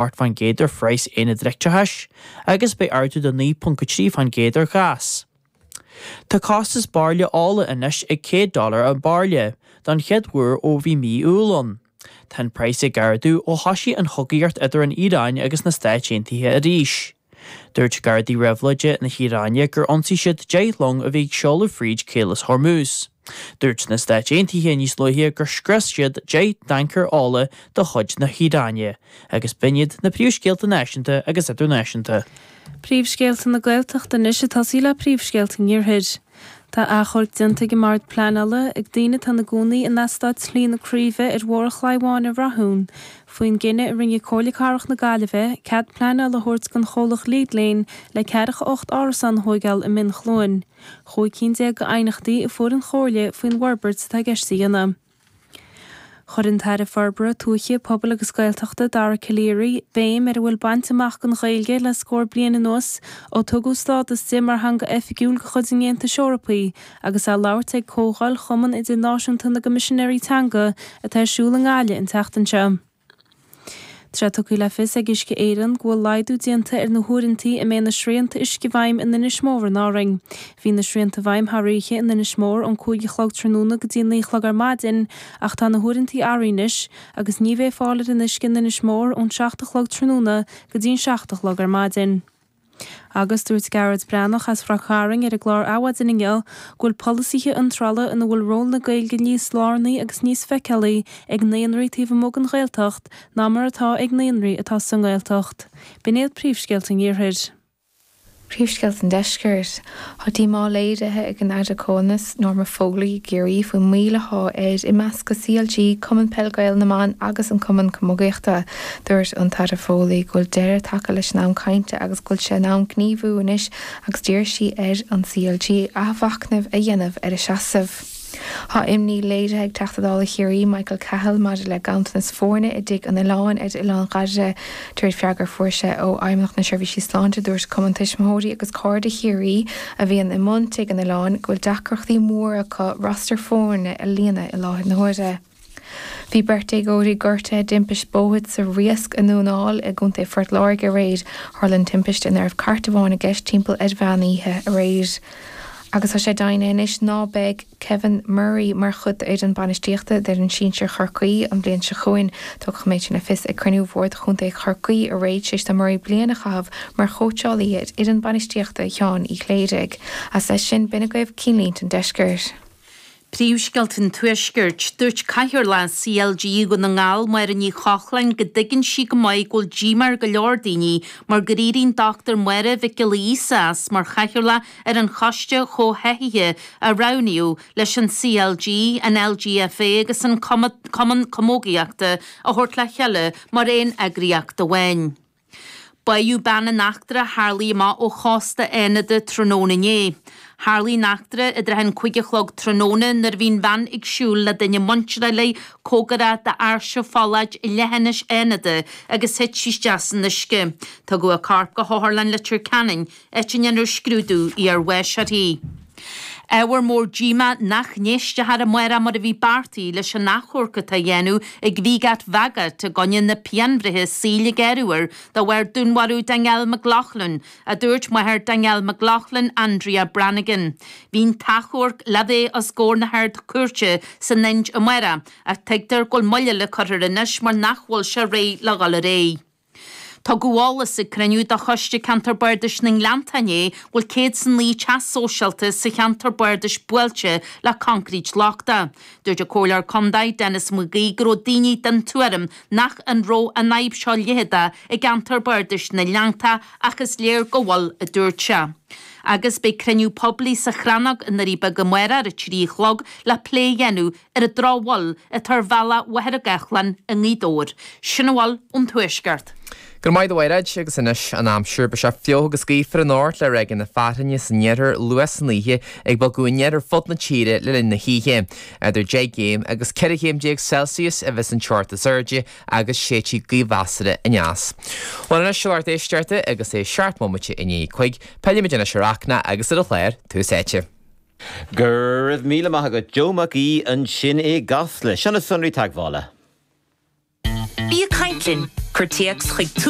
8% ar phraghas aonaid leictreachais agus beidh ardú de 9.3% ar ghás. Tá costas bairille ola anois ag 100 dollar an bairille, don chéad uair ó bhí mí Iúil ann. Tá an praghas ag ardú ó thosaigh an chogaíocht idir an Iaráin agus na Stáit Aontaithe arís. Dúirt Gardaí Réabhlóide na hIaráine gur ionsaigh siad 10 long a bhí ag seoladh fríd Caolas Hormuz. Dúirt na Stáit Aontaithe níos luaithe gur scrios siad 10 dtancaer ola de chuid na hIaráine, agus b'in iad na príomhscéalta náisiúnta agus idirnáisiúnta. Príomhscéalta na Gaeltachta anois ag tosaí le príomhscéalta an Iarthair. Tá achomharc déanta ag an mBord Pleanála ag daoine atá ina gcónaí in eastát Shlí na Craoibhe ar Bhóthar an Chlaí Bháin i Rathún faoin gcinneadh a rinne Comhairle Cathrach na Gaillimhe cead pleanála a thabhairt don chomhlacht Lead Lane le 48 árasán a thóigeáil i mBinn Chluain. 15 cinn d'aighneachtaí a fuair an Chomhairle faoin bhforbairt atá i gceist a dhéanamh. Chuir an tAire Forbartha Tuaithe, Pobail agus Gaeltachta, Dara Calleary, béim ar a bhfuil bainte amach don Ghaeilge le scór bliain anuas ó tugadh stádas di mar theanga oifigiúil de chuid an Aontais Eorpaigh agus é ag labhairt ag Comhdháil Chumann Idirnáisiúnta na gCoimisinéirí Teanga atá ar siúl i nGaillimh an tseachtain seo. Tá sé tugtha le fios ag Uisce Éireann go bhfuil laghdú déanta ar na huaireanta a mbeidh na srianta uisce i bhfeidhm in Inis Mór in Árainn. Bhí na srianta i bhfeidhm thar oíche in Inis Mór ón 5 a chlog tráthnóna go dtí 9 a chlog ar maidin ach tá na huaireanta athraithe anois agus ní bheidh fáil ar an uisce in Inis Mór ón 7 a chlog tráthnóna go dtí an 7 a chlog ar maidin. Agus dúirt Gearóid Breathnach as Ráth Cairn ar an gclár Adhmhaidin inniu go bhfuil polasaithe iontrála ina bhfuil ról na Gaeilge níos lárnaí agus níos feiceálaí ag naíonraí taobh amuigh den Ghaeltacht ná mar atá ag naíonraí atá sa nGaeltacht. B'in iad príomhscéalta an Iarthair. Príomhscéalta an Deiscirt. Tá díomá léirithe ag an Aire Comhionannais, Norma Foley i gCiarraí faoin mbaol atá ar imeascadh CLG, Cumann Peil Gael na mBan agus an Cumann Camogaíochta. Dúirt an tAire Foley go bhfuil deireadh tagtha leis an am cainte agus go bhfuil sé in am gníomhú anois agus d'iarr sí ar an CLG athmhachnamh a dhéanamh ar a seasamh. Tá imní léirithe ag Teachta Dála Chiarraí Michael Cahill maidir le ganntanas foirne i dTigh an Oileáin ar Oileán Dhoire. De réir freagra a fuair sé ó Fheidhmeannacht na Seirbhísí Sláinte dúirt Cumann Tuismitheoirí agus Cairde Chiarraí a bhíonn i mbun Tigh an Oileáin go bhfuil deacrachtaí móra acu roster foirne a líonadh i láthair na huaire. Bhí beirt déagóirí gortaithe i dtimpist bóthair sa Riasc i nDún na nGall i gContae Phort Láirge aréir. Tharla an timpiste ina raibh cairt amháin i gceist timpeall ar mheán oíche aréir. Agus tá sé deimhnithe anois ná beidh Kevin Murray mar chuid d'fhoireann bainistíochta d'fhoireann sinsir Chorcaí an bhliain seo chugainn. Tugadh an méid sin le fios ag cruinniú Bhord Chontae Chorcaí aréir tar éis do Murray bliain a chaitheamh mar chóitseálaí ar fhoireann bainistíochta Sheáin Uí Chléirigh. Agus leis sin, b'in agaibh cinnlínte an Deiscirt. Príomhscéalta an Tuaiscirt. Dúirt Cathaoirleach CLG Dhún na nGall, Máire Ní Chochláin, go dtuigeann sí go maith go bhfuil díomá ar go leor daoine mar gur éirigh an Dr Máire Mhic Giolla Íosa as mar chathaoirleach ar an Choiste Chomhtháthaithe a roghnaíodh leis an CLG, an LGFA agus an Cumann Camógaíochta a thabhairt le chéile mar aon eagraíocht amháin. Báitheadh bean in eachtra a tharlaigh amach ó chósta Fhánada tráthnóna inné. Tharlaigh an eachtra i dtrátha an 5 a chlog tráthnóna nuair a bhí an bhean ag siúl le duine muinteartha léi cóngarach d'Áirse Pholláid i leithinis Fhánada agus thit sí isteach san uisce. Tugadh a corp go hOtharlann Leitir Ceanainn áit a ndéanfar scrúdú iarbháis uirthi. Ábhar mór díomá nach n-éistfear amárach mar a bhí beartaithe leis an achomharc atá á dhéanamh ag Viegat Vaghat i gcoinne na pianbhreithe saoil a gearradh air de bharr dúnmharú Danielle McLaughlin, a dúirt máthair Danielle McLaughlin, Andrea Brannigan. Bhí an t-achomharc le bheith os comhair na hArd-Chúirte san Ind amárach ach tuigtear go bhfuil moill eile curtha air anois mar nach bhfuil sé réidh le dhul ar aghaidh. Tugadh eolas ag cruinniú de Choiste Ceantar Bardais na nGleanntach inné go bhfuil 109 teach sóisialta sa cheantar bardais buailte le coincréit lochtach. Dúirt an Comhairleoir Contae, Denis Mac Aoidh go raibh daoine den tuairim nach an raibh an fhadhb seo leitheadach i gceantar bardais na nGleanntach ach is léir go bhfuil, a dúirt sé. Agus beidh cruinniú poiblí sa Chrannóg i nDoirí Beaga amárach ar a 3 a chlog le plé a dhéanamh ar an drochbhail atá ar bhealach Mhachaire Gathlán i nGaoth Dobhair. Sin a bhfuil ón Tuaisceart. Go raibh maith agat a Mhairéad, agus anois an aimsir. Beidh sé fliuch agus gaofar anocht le ráigeanna fearthainne san iarthar luath san oíche ag bogadh aniar ar fud na tíre le linn na hoíche. Idir 10 gcéim agus 14 chéim Celsius a bheas an teocht is airde agus séidfidh gaoth mheasartha aneas. Bhuel anois a lucht éisteachta agus é 7 mbomaite i ndiaidh a 5, pillfimid anois ar Fhachtna agus ar a chlár Tús Áite. Go raibh míle maith agat, Joe Mac Aoidh ansin i gCasla. Seo na sonraí teagmhála. Bí ag caint linn! Cuir téacs chuig Tús.